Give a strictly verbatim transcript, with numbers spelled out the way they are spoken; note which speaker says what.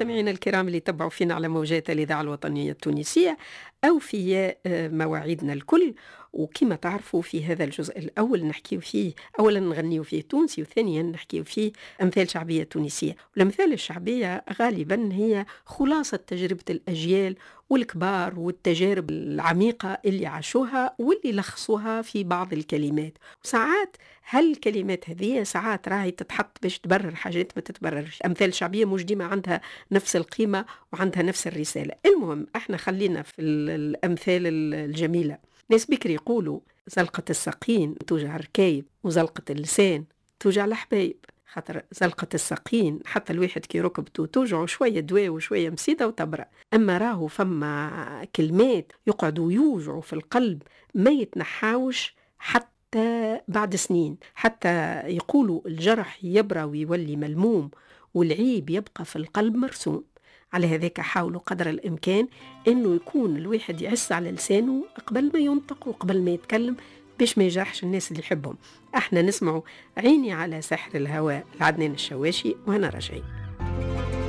Speaker 1: مستمعينا الكرام اللي تبعوا فينا على موجات الإذاعة الوطنية التونسية أو في مواعيدنا الكل. وكما تعرفوا في هذا الجزء الأول نحكي فيه أولا نغنيو فيه تونسي، وثانيا نحكي فيه أمثال شعبية تونسية. والأمثال الشعبية غالبا هي خلاصة تجربة الأجيال والكبار والتجارب العميقة اللي عاشوها واللي لخصوها في بعض الكلمات. وساعات هالكلمات هذه ساعات راهي تتحط باش تبرر حاجات ما تتبررش. أمثال شعبية مش ديما عندها نفس القيمة وعندها نفس الرسالة. المهم احنا خلينا في الأمثال الجميلة. ناس بكري يقولوا زلقة الساقين توجع الركايب وزلقة اللسان توجع الحبايب. خاطر زلقة الساقين حتى الواحد كي ركبته توجعه شوية دواء وشوية مسيدة وتبرأ. أما راهو فما كلمات يقعدوا يوجعوا في القلب ما يتنحاوش حتى بعد سنين، حتى يقولوا الجرح يبرى ويولي ملموم والعيب يبقى في القلب مرسوم. على هذاك حاولوا قدر الإمكان أنه يكون الواحد يعس على لسانه قبل ما ينطق وقبل ما يتكلم باش ما يجرحش الناس اللي يحبهم. احنا نسمعوا عيني على سحر الهواء لعدنان الشواشي وهنا راجعين.